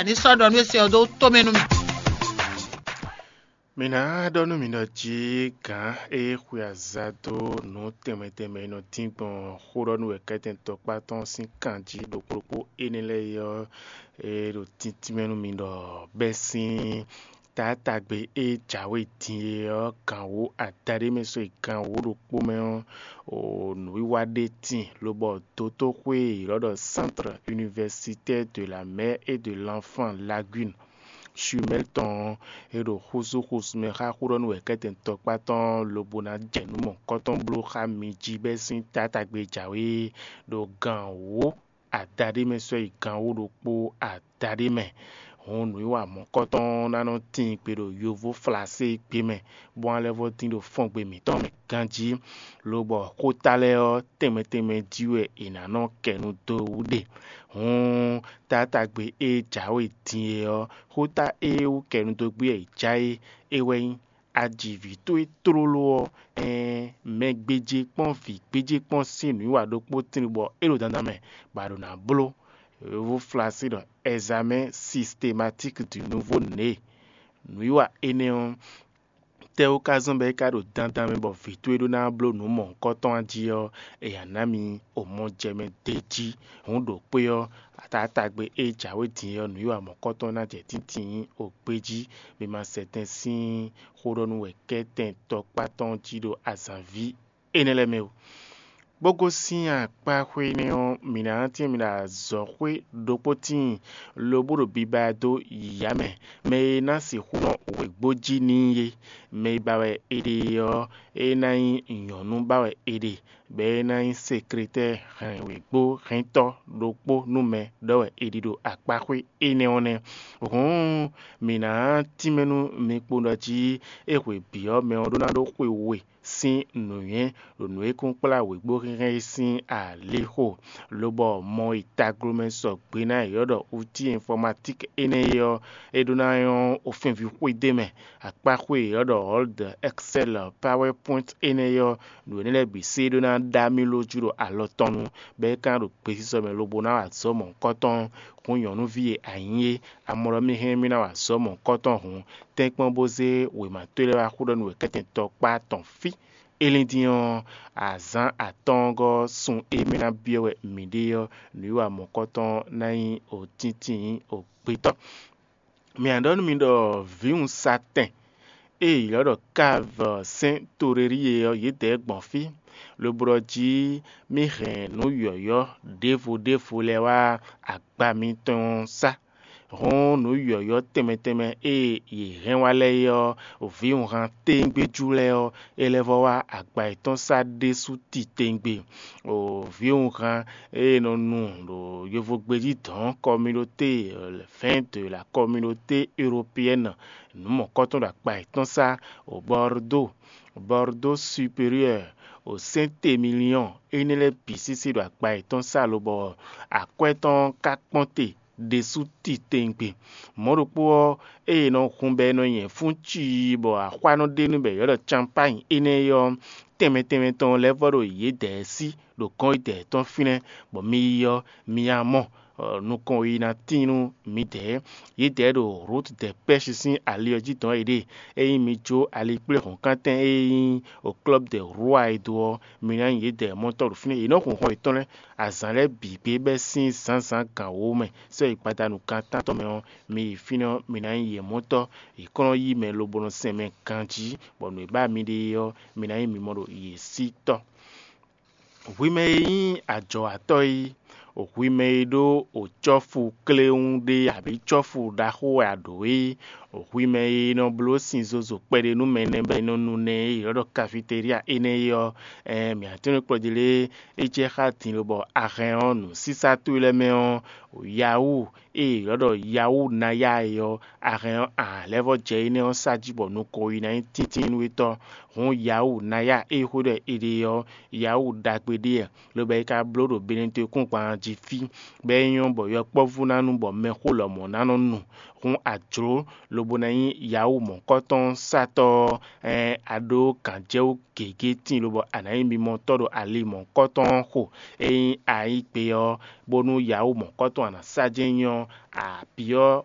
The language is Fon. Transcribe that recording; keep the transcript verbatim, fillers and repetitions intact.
Ní sɔ́ ɖɔ nú é se ɔ́ dó tomɛ nú mì. Mi ná ɖɔ nú mì ɖɔ jí gǎn e xwe aza dó nǔ tɛnmɛ tɛnmɛ e nɔ dín gbɔn xó ɖɔ nú wɛ̌kɛ́tɛn tɔkpá tɔn sín kan jí ɖokpó ɖokpó énɛ́ lɛ́ɛ é ɔ́, é ɖo tíntín mɛ nú mi ɖɔ bɛ́ sín taátagbe e jǎwe din é ɔ́, gan wǒ adaɖé mɛ sɔ́ yi gan wǒ ɖokpó mɛ ɔ́, o nǔwiwa ɖé tíin, lobɔ dotóxwé e ylɔ́ ɖɔ Centre Universitaire de la Mère et de l'Enfant Lagune Chumel tɔn ɔ́, é ɖo xúzú xúzú mɛ xá xó ɖɔ nú wɛ̌kɛ́tɛn tɔkpá tɔn lobo ná jɛ nǔ mɔ̌hunkɔtɔn bló xá mi jí bɛ́ sín taátagbe jǎwe ɖo gan wǒ adaɖé mɛ sɔ́ yi gan wǒ ɖokpó adaɖé mɛ. Hǔn nǔwiwa mɔ̌hunkɔtɔn ná nɔ tíin gbe ɖo yovó Flaséegbe mɛ, bó ná lɛ́ vɔ́ dín ɖo fɔ́ngbe mǐtɔn mɛ ganjí, lobɔ xóta lɛ́ɛ ɔ́, tɛnmɛ tɛnmɛ jí wɛ è nǎ nɔ kɛ nu dó wú ɖe. Hǔn taátagbe e jǎwe din é ɔ́, xóta e wú kɛ nu dó gbé wɛ è já é, é wɛ nyí: Aji vǐ towe tlóló ɔ́, ɛɛn, mɛ gbéjé kpɔ́n vǐ gbéjé kpɔ́n sín nǔwiwa ɖokpó tíin bɔ é ɖo dandan mɛ, bɔ a ɖo nǎ bló. Yovó Flasí ɖɔ examen systématique du nouveau né. Nǔwiwa énɛ́ ɔ́, tɛ́ wú ka zɔ́n bɔ é ka ɖo dandan mɛ bɔ vǐ towe ɖó ná bló nǔ mɔ̌hunkɔtɔn jí ɔ́, è nǎ ná mi omɔjɛmɛ d'é jí. Hǔn ɖo kpé ɔ́, taátagbe e jǎwe din ɔ́, nǔwiwa mɔ̌hunkɔtɔn ná jɛ tíntín o gbé jí. Mi ma sɛ tɛn sín xó ɖɔ nú wɛ kɛ́tɛn tɔkpá tɔn jí ɖo azǎnví énɛ́ lɛ́ɛ mɛ o. Bó gosín akpá xwé énɛ́ ɔ́, mǐ ná nɔ tín mǐ ɖo azɔ̌xwé ɖokpó tíin, lobo ɖo biba dó yǐyá mɛ, mɛ e ná sixú nɔ wěgbó jí n'i é. Mɛ e ba wɛ è ɖe ɔ́, é ná nyí nyɔ̌nu ba wɛ è ɖe, bɔ é ná nyí sekletɛ́ɛ hɛn wěgbó hɛntɔ́ ɖokpó nú mɛ ɖɔ wɛ è ɖi ɖo akpá xwé énɛ́ ɔ́ nɛ́. Hǔn mǐ ná tínmɛ nú mi kpowun ɖɔ jí é hwe bǐ ɔ́, mɛ ɔ́ ɖó ná ɖó xwe we sín nǔnywɛ́ ɖo nǔ e kún kplá wěgbóhɛnhɛn é sín alixo, lobɔ mɔ e taglomɛ sɔgbe ná e ylɔ́ ɖɔ outil informatique énɛ́ é ɔ́, é ɖó ná nyɔ́ ofɛ́nví xwedó mɛ. Akpáxwé e ylɔ́ ɖɔ Word, Excel, PowerPoint énɛ́ é ɔ́, nǔ énɛ́ lɛ́ɛ bǐ sé ɖó ná ɖó amilójú ɖo alɔ tɔn nu, bɔ é ka ná ɖo gbesisɔ mɛ lobo ná wa azɔ̌ mɔ̌hunkɔtɔn. Hǔn nyɔ̌nuví e a nyí é, a mɔ ɖɔ mì hɛn mì ná wa azɔ̌ mɔ̌hunkɔtɔn hǔn, tɛ́nkpɔ́n bó zé wěma towe lɛ́ɛ wá xó ɖɔ nú wɛ kɛ́tɛn tɔkpá tɔn fí. É lín dín ɔ́, azǎn atɔ́ɔ́ngɔ́ sun e mɛ ná byɔ́ wɛ mǐ ɖe ɔ́, nǔwiwa mɔ̌kɔtɔn ná nyí òtíntín ògbétɔ́. Mǐ ná ɖɔ nú mi ɖɔ vǐwun satɛn e è ylɔ́ ɖɔ Káv sɛ́n Torelíe ɔ́, yědɛɛ gbɔn fí, lobo ɖɔ jí mì hɛn nǔ yɔ̌yɔ́ ɖěvo ɖěvo lɛ́ɛ wá agba mitɔn sá. Hɔn nǔ yɔ̌yɔ́ tɛnmɛ tɛnmɛ e yě hɛn wá lɛ́ɛ é ɔ́, vǐwunhan téńgbéjú lɛ́ɛ ɔ́, é lɛ́ vɔ́ wá agba yětɔn sá ɖésú titewungbe. Vǐwunhan e nɔ nu ɖo yovogbejí dɔ̌n communauté, vɛ̌ɛn de la communauté européenne, nǔ mɔ̌kɔtɔn ɖo agba yětɔn sá, Bordeaux, Bordeaux supérieur, Saint-Émilion, énɛ́ lɛ́ɛ bǐ sísí ɖo agba yětɔn sá lobɔ akwɛ́ tɔn ka kpɔ́n te ɖésú titewungbe. Mɔ̌ ɖokpó ɔ́, ée è nɔ hun bɔ è nɔ nyɛ fún cii bɔ axwá nɔ ɖe nú bɔ è ylɔ́ ɖɔ Campány énɛ́ é ɔ́, tɛnmɛ tɛnmɛ tɔn lɛ́ɛ vɔ́ ɖo yědɛɛ sí ɖo gɔ́n yědɛɛ tɔn fínɛ́, bɔ mi yi ɔ́, mi yá mɔ nukɔn e ná tín nú midɛɛ. Yědɛɛ ɖo Route des Pêches sín ali ɔ́ jí dɔn yěɖée. Ényí mi jó alikpléhɔ̌nkantɛn e nyí o Club des Rois é dó ɔ́, mi ná nyi yědɛɛ mɔtɔ́ ɖo fínɛ́. Yě nɔ hun xɔ yětɔn lɛ́ɛ azǎn lɛ́ɛ bǐ gbé bɛ́ sín zǎnzǎn gan wǒ mɛ, sɔ́ yi gbadanu gan tántɔn mɛ ɔ́, mi yi fínɛ́ ɔ́, mi ná nyí yě mɔtɔ́. Yě kɔn nɔ yí mɛ lobo nɔ sɛn mɛ ganjí, bɔ nǔ e ba mi ɖe é ɔ́, mi ná nyí mimɔ ɖo yě sí tɔ́. Hwi mɛ e nyí ajɔ̌watɔ́ é, hwi mɛ e ɖó cɔ́fu kléwún ɖé abǐ cɔ́fu ɖaxó wɛ a ɖǒ é, hwi mɛ e nɔ bló sin zozo kpɛɖé nú mɛ nɛ́ bɔ è nɔ nu nɛ́ e è nɔ ɖɔ kafiteria énɛ́ é ɔ́, ɛɛn mǐ ǎ tɛ́nwe kplɔ́ ɖi lé? É jɛ xá din lobɔ a hɛn ɔ́ nǔsísá towe lɛ́ɛ mɛ ɔ́, Yahoo e è nɔ ɖɔ Yahoo Naya é ɔ́, a hɛn ɔ́, a lɛ́ vɔ́ jɛ énɛ́ ɔ́ sá jí bɔ nukɔn yi ná nyí tíntínnúwetɔ́. Hǔn Yahoo Naya e xwé ɖɔ è ɖe ɔ́, Yahoo ɖagbe ɖé wɛ, lobo é ka bló ɖo Benɛtɔ́kúngban jí fí, bɔ é nyɔ́ bɔ yɔkpɔ́vú ná nu bɔ mɛxó lɔmɔ̌ ná nɔ nu. Hǔn a jlǒ lobo ná nyí Yahoo mɔ̌kɔtɔn satɔ́ ɔ́, ɛɛn a ɖó gǎnjɛwú gěgé tíin lobɔ a nǎ nyí mimɔtɔ́ ɖo ali mɔ̌kɔtɔn ɔ́ xo. Ényí a yí gbe ɔ́, bónú Yahoo mɔ̌kɔtɔn a nǎ sá jɛ́n nyí ɔ́, a byɔ́